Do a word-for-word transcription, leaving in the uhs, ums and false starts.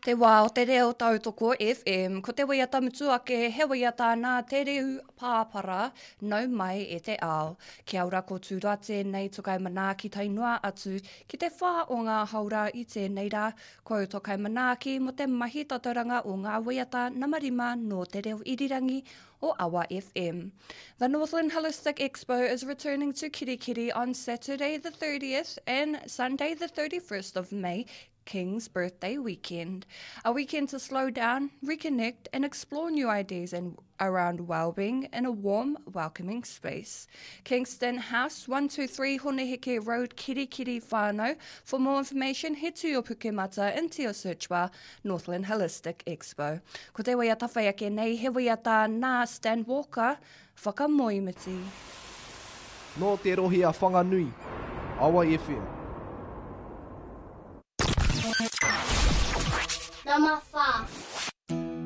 Te wā o te reo tautoko FM, ko te waiata mutu ake he waiata nā Te Riu Pāpara, nau mai e te ao. Kia ora ko Tūroa tēnei tukai manaaki tae noa atu ki te whā o ngā haora i tēnei rā. Ko tokai manaaki mo te mahi tatauranga o ngā waiata nama rima nō te reo irirangi o Awa FM. The Northland Holistic Expo is returning to Kirikiri on Saturday the thirtieth and Sunday the thirty-first of May, King's Birthday weekend. A weekend to slow down, reconnect and explore new ideas and around well-being in a warm, welcoming space. Kingston House, one two three Honeheke Road, Kirikiri Whānau. For more information, head to your Pukemata into your search bar, Northland Holistic Expo. Ko te waiata whai ake nei, he waiata nā Stan Walker, Whakamoemiti. Nō te rohe a Whanganui, Awa F M. Number four.